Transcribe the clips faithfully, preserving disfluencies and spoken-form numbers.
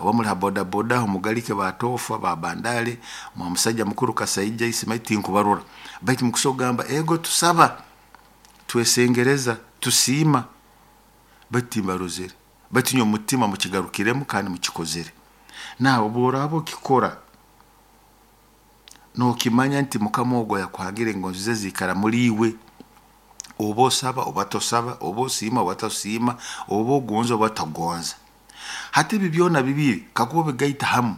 Oba muli ha bodaboda aho mugalike batofa ba bandale mwa musajja mukuru Kasaija Isimaili, tinkubarora, baitu mukusobora kugamba ego tusaba, twesengereza, tusiima, baitu timbarozere, baitu nyowe omutima mukigarukiremu kandi mukikozere. Nawe obu oraaba okikora nookimanya nti Mukama ogu ayakuhangire engonzi ze ziikara muli iwe. Oba osaba oba tosaba, oba osiima oba tosiima, oba ogonza oba togonza. Hati ebi byona bibiri kakuba obigaita hamu,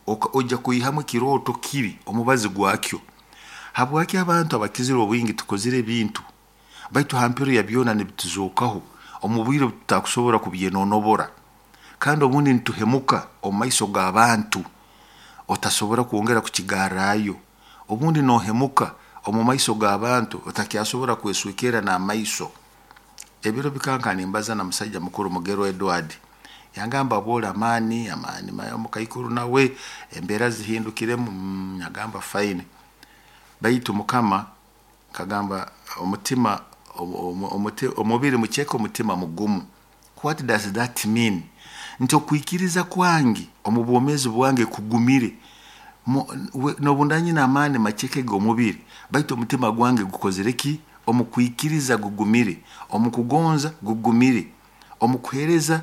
oija kwihamu ekirooto kiri omubazi gwakyo. Habwaki abantu abakizire obwingi tukozire ebintu, baitu ha mpero ya byona nibituzookaho omu bwire obu tutakusobora kubyenonobora, kandi obundi nituhemuka omu maiso g'abantu otasobora kwongera kukigarrayo. Obundi noohemuka omu maiso g'abantu otakyasobora kweswekerra n'amaiso. Ebiro bikaba nimbaza na musaija mukuru Mugerwa Edward, yangamba aboole amaani amaani omukaikuru nawe embeera zihindukiremu. mm, yagamba fine, baitu Mukama kagamba omutima omubiri muceke, omutima mugumu. What does that mean? Nti okwikiriza kwange omu bwomeezi bwange kugumire, nobu ndanyina amaani maceke g'omubiri, baitu omutima gwange gukozire ki? Omu kwikiriza gugumire, omu kugonza gugumire, omu kuheereza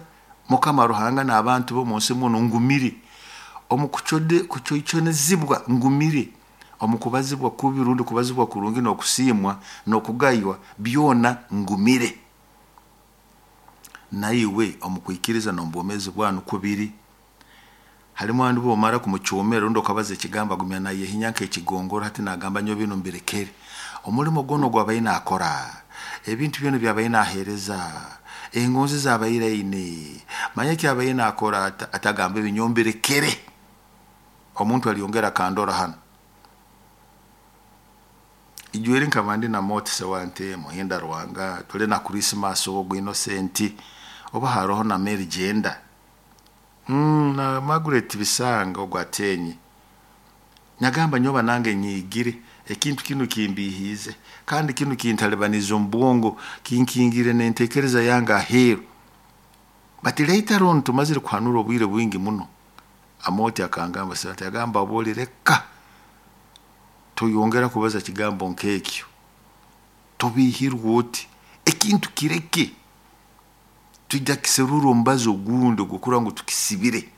Mukama Ruhanga n'abantu b'omunsi munu ngumire, omu kucoiconizibwa ngumire, omu kubazibwa kubi rundi kubazibwa kurungi n'okusiimwa n'okugaywa byona ngumire. Naiwe omu kwikiriza n'omu bwomeezi bwawe nukwo biri. Halimu abandi obu omara kumucoomera rundi okabaza ekigambo agumya nayehinya nk'ekigongoro, hati nagamba nyowe binu mbirekere. Omulimo gwona ogu abaire naakora, ebintu byona ebi abaire naaheereza, engonzi ezi abaire aine, manya eki abaire naakora, atagamba ebi nyowe mbirekere. Omuntu alyongera akandora hanu. Ijweri nkaba ndi na Moti Sewante, Muhinda Rwanga, tuli na Christmas ogu Innocent, oba haroho na Mary Jenda mm, na Margaret Bisanga ogu atenye. Nagamba nyoba nange nyigire ekintu kinu kimbihiize, kandi kinu kintalibaniza omu bwongo, kinkingire n'entekereza yange aheeru. But later on tumazire kuhanura obwire bwingi muno, Amoti akangamba Sewante, yagamba abooli reka toyongera kubaza kigambo nk'ekyo, tobihirwe oti, ekintu kireke, tujja kiserura omubazi ogundi ogw'okurora ngu tukisibire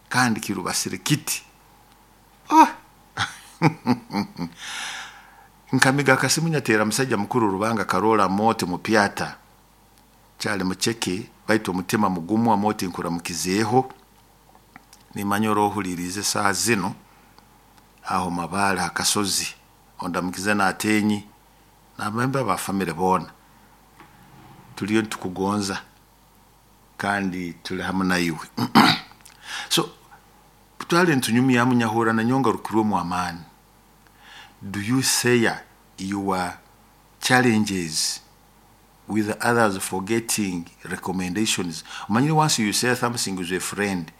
kandi kirubasire kiti. Oh! Nkamiga akasimu nyateera musajja mukuru Rubanga Karola Amoti mupyata, kyali muceke baitu omutima mugumu. Amoti nkuramukizeeho, nimanya orohuliriize saaha zinu aho Mabaale ha kasozi, ondamukize n'atenyi n'abemba ba family boona. Tuliyo nitukugonza kandi tuli hamu naiwe. So twali nitunyumyamu, nyahurra nanyowe ngarukirwemu amaani. Do you share your challenges with others for getting recommendations? Omanyire, once you share something with a friend,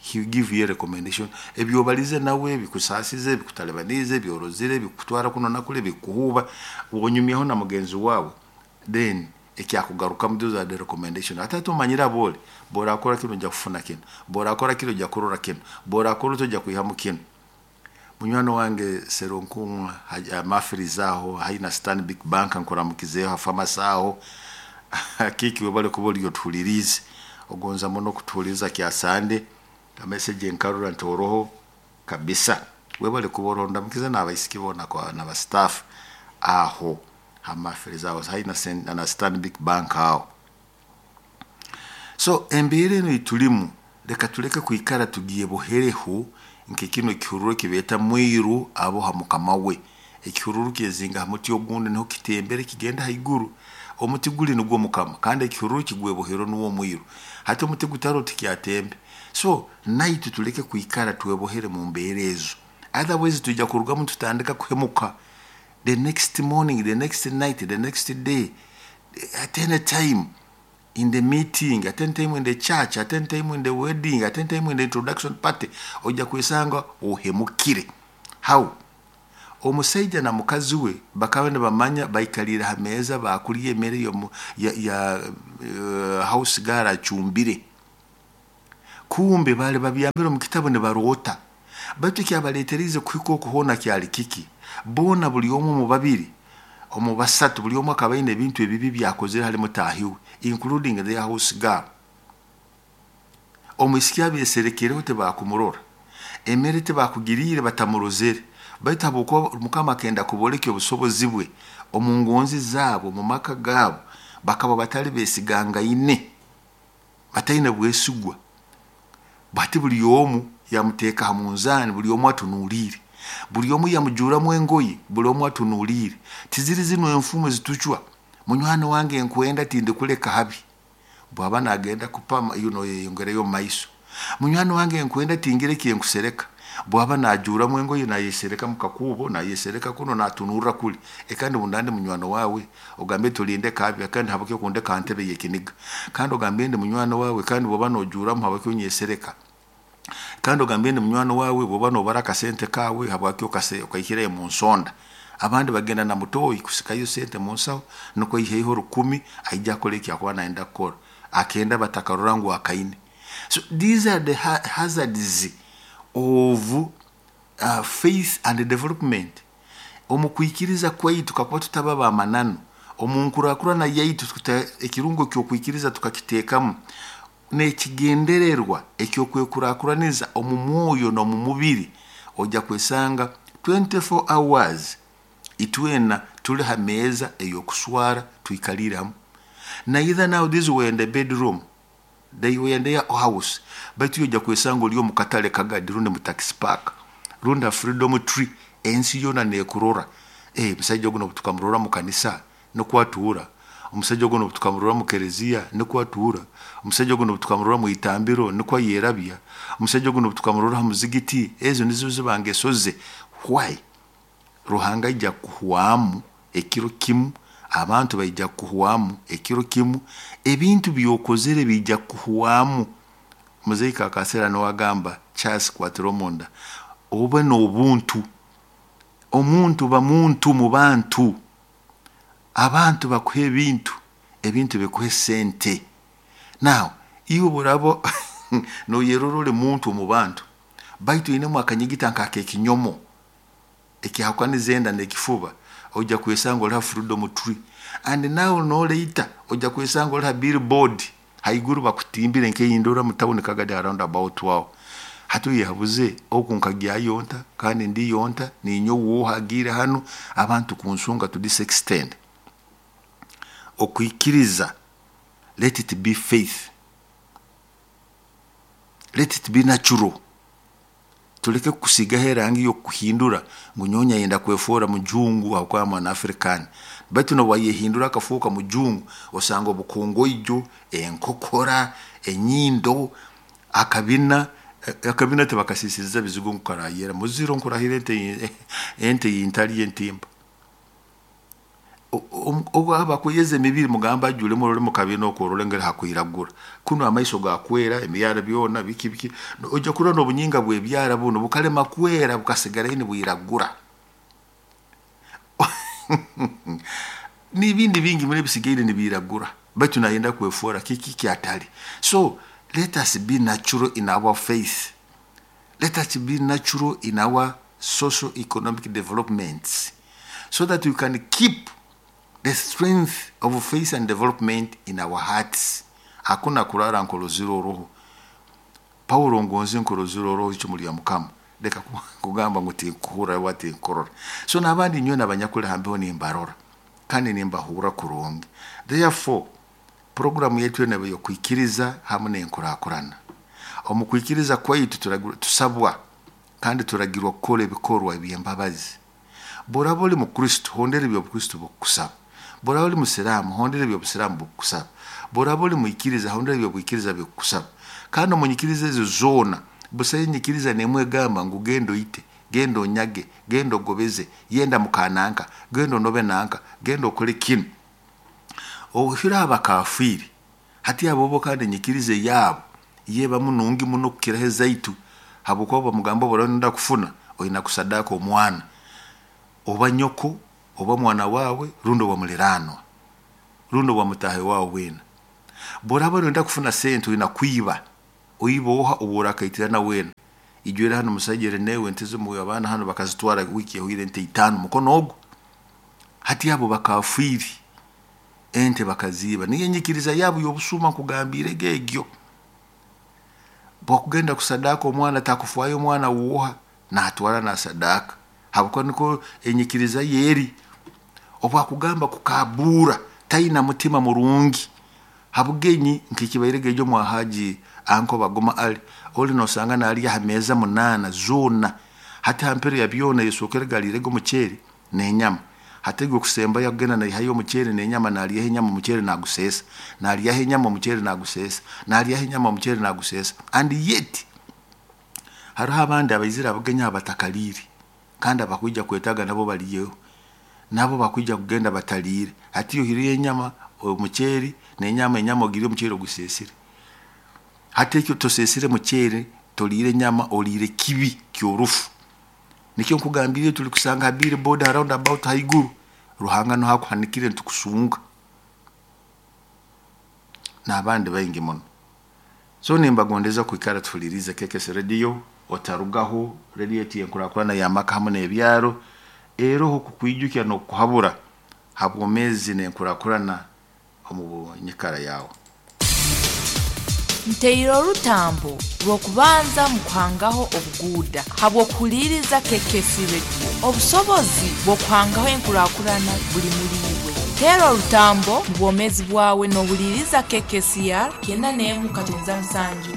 he will give you a recommendation. Ebyobalize nawe bikusaasize, bikutalibanize, byorozire, bikutwara kuno nakuli, bikuhuuba, wonyumyaho na mugenzi wawe, then ekyakugarukamu, those are the recommendation. Ate ate omanyire aboole borakora kino ojja kufuna kino, borakora kino ojja kurora kino, borakora oti ojja kwihamu kino. Munywani wange Seronkumwa Mafiriza aho haina Stanbic Bank, nkuramukizeeho ha famasi aho kiki, webale kuba oli otuhuliriize, ogonza muno kutuhuliriza kyasande amessage nkarora nti oroho kabisa. Webale kuba oroho, ndamukize n'abaisiki boona n'aba staff aho ha Mafiriza aho haina na Stanbic Bank aho. So embeera enu eitulimu, leka tuleke kwikara tugiebohereho nk'ekino ekihururu ekibeeta mwiru aboha mukama we. Ekihururu kyezinga ha muti ogundi, niho kitembere kigenda haiguru. Omuti guli nugwo mukama, kandi ekihururu kigwebohero nuwo omwiru. Hati omuti gutaro tikyatembe. So naitwe tuleke kwikara twebohere mu mbeera ezo, otherwise tujja kurugamu tutandika kuhemuka the next morning, the next night, the next day, at any time in the meeting, at any time in the church, at any time in the wedding, at any time in the introduction party, ojja kwesanga ohemukire. How? Omusaija na mukazi we bakaba nibamanya, baikalire ha meeza bakulya emere ya, ya uh, house girl acumbire. Kumbe bali babyambire omu kitabu nibaroota. Baitu ekyabaleeteriize kuhika oku hoona kyali kiki? Boona buli omu omu babiri, omu basatu, buli omu akaba aine ebintu ebibi byakozere hali mutaahi we, including their house girl. Omwisiki abeeserekereho tibakumurora, emere tibakugiriire batamurozere, baitu habwokuba Mukama akenda kubooleka obusobozi bwe omu ngonzi zaabo, omu maka gaabo, bakaba batali beesigangaine, bataine bwesigwa. Bati buli omu yamuteeka ha munzaani, buli omu atunuuliire, buli omu yamujuuramu engoye, buli omu atunuuliire. Tiziri zinu enfumu ezitucwa, munywani wange nkwenda tindikuleka habi, bwaba nagenda kupama you know, yeyongereyo omu maiso. Munywani wange nkwenda tingire ekinkusereka, bwaba najuuramu engoye nayesereka mu kakuubo, nayesereka kuno natunurra kuli. Kandi bundandi munywani wawe ogambe tulinde kabi, kandi habaki okundeka ha ntebe y'ekiniga, kandi ogambe ndi munywani wawe, kandi bwoba nojuuramu habaki onyesereka, kandi ogambe ndi munywani wawe bwoba nobara akasente kawe habwaki okaihirayo mu nsonda. Abandi bagenda na mutoyi kusikayo sente mu nsaho nukwo aiheyo rukumi aija akole eki akuba nayenda kukora, akenda batakarora ngu akaine. So these are the ha hazards of uh, faith and development. Omu kwikiriza kwaitu kakuba tutaba bamananu, omu nkurakurana yaitu ekirungo ky'okwikiriza tukakiteekamu n'ekigendererwa eky'okwekurakuraniza omu mwoyo n'omu mubiri, ojja kwesanga twenty-four hours itwena tuli ha meeza ey'okuswara twikaliire hamu. Neither now these were in the bedroom, they were in their house, baitu ojja kwesanga oli omu katale Kagadi rundi mu taxi park rundi ha Freedom Tree, ensi yoona neekurora. Eh, omusajja ogu nobu tukamurora mu kanisa nukwo atuura, omusajja ogu nobu tukamurora mu kereziya nukwo atuura, omusajja ogu nobu tukamurora mu itambiro nukwo ayerabya, omusajja ogu nobu tukamurora ha muzigiti, ezo nizo ziba ngeso ze. Why? Ruhanga aija kuhwamu ekiro kimu, abantu baija kuhwamu ekiro kimu, ebintu byokozere biija kuhwamu. Muzeeyi Kakasera niwe agamba Charles kwatira omunda, obe n'obuntu, omuntu ba muntu mu bantu, abantu bakuha ebintu, ebintu bikuha sente. Now iwe burabo noyerora oli muntu omu bantu, baitu oinemu akanyigita nk'akekinyomo ekyahukaniza enda n'ekifuba, ojja kwesanga oli ha Freedom Tree, and now noleita ojja kwesanga oli ha billboard haiguru bakutimbire nk'eyindora mu tawuni Kagadi around about aho. Hati oyehabuze oku nkagyayo nta kandi ndiyo nta ninyowe oha agiire hanu abantu kunsunga to this extent. Okwikiriza, let it be faith, let it be natural. Tuleke kusigaho erangi y'okuhindura ngu nyowe ayenda kwefoora mujungu habwokuba mwana African, baitu nobwayehindura akafuuka mujungu osanga obukongoijo, enkokora, enyindo, akabina akabina tibakasisiriza bizigo ngu karayera muziro nkurahira ente ente yintali entimba. Obu abakweyeza emibiri mugamba ajulemu orole mu kabina okwo orole ngeri hakwiragura, kuno amaiso gakwera, emibyara byona biki biki, ojja kurora n'obunyinga bw'ebyara buno bukalema kwera bukasigara nibwiragura. N'ebindi bingi muri ebisigaire nibiragura, baitu nayenda kwefoora kiki kyatali. So let us be natural in our faith, let us be natural in our social economic developments, so that we can keep the strength of faith and development in our hearts. Hakuna kurara nkoroziro roho. Paulo ngonzi nkoroziro roho icumu lya Mukama, leka kugamba ngu tinkuhurra oba tinkurora. So n'abandi nyowe n'abanyakuli hambeho nimbarora kandi nimbahurra kurungi. Therefore programu yaitu eno y'okwikiriza hamu n'enkurakurana. Omu kwikiriza kwaitu tusabwa kandi turagirwa kukora ebikorwa eby'embabazi. Bw'oraba oli mukristo, hondera eby'obukristo bukukusaba. Bw'oraba oli musiraamu, hondera eby'obusiraamu bukukusaba. Bw'oraba oli mwikiriza, hondera eby'obwikiriza bikukusaba. Kandi omu nyikiriza ezo zoona, busayo enyikiriza n'emu egamba ngu genda oite, genda onyage, genda ogobeze, yenda mukananka, genda onobe nanka, genda okole kinu. Ohira abakafiiri, hati abo bo kandi enyikiriza yaabo yebamu nungi muno kukiraho ezaitu, habwokuba bamugamba obu oraba kufuna oina kusadaka omwana, oba nyoko, oba mwana wawe, rundi oba muliranwa, rundi oba mutahi wawe weena. Bw'oraba noyenda kufuna sente oina kwiba. Oiba oha obu orakaitirana weena ijwire hano musaija newe ente zimu abaana hano bakazitwara wiiki ehwaire, ente itaano mukono ogu. Hati abo bakafiiri ente bakaziiba, niyo enyikiriza yabo y'obusuma nkugambirege egyo. Bwakugenda kusadaka omwana takufwayo, omwana woha natwara nasadaka habwokuba niko enyikiriza ye eri. Obwakugamba kukabuura taina mutima murungi habugenyi nkikibairege ejo mwa Haji anko baguma ali oli nosanga nalya ha meeza munaana zoona. Hati hampero ya byona yesokere galirege omuceeri n'enyama, hati gwe kusembayo akugenda naihayo omuceeri n'enyama, nalyaho enyama omuceeri naguseesa, nalyaho enyama omuceeri naguseesa, nalyaho enyama omuceeri naguseesa. And yet hariho abandi abaizire abagenyi abo batakaliire kandi abakwija kwetaaga nabo baliyeho, nabo bakwija kugenda bataliire. Hati ohireyo enyama omuceeri n'enyama, enyama ogiriire omuceeri oguseesire. Hati ekyo toseesire muceeri, toliire enyama, oliire kibi ky'orufu. Nikyo nkugambire tuli kusanga ha billboard ha round about haiguru, Ruhanga nuho akuhanikire ntukusunga n'abandi baingi muno. So nimbagondeza kwikara tuhulirize K K S Radio, otarugaho. Radio yetu yenkurakurana y'amaka hamu n'ebyaro, eroho kukwijukya n'okuhabura ha bwomeezi n'enkurakurana omu nyikara yawe. Nteire orutambo rw'okubanza mu kuhangaho obuguuda habw'okuhuliiriza K K S Radio. Obusobozi bw'okuhangaho enkurakurana buli muli iwe. Teera orutambo mu bwomeezi bwawe n'ohuliiriza K K C R kyenda n'emu katonza musanju.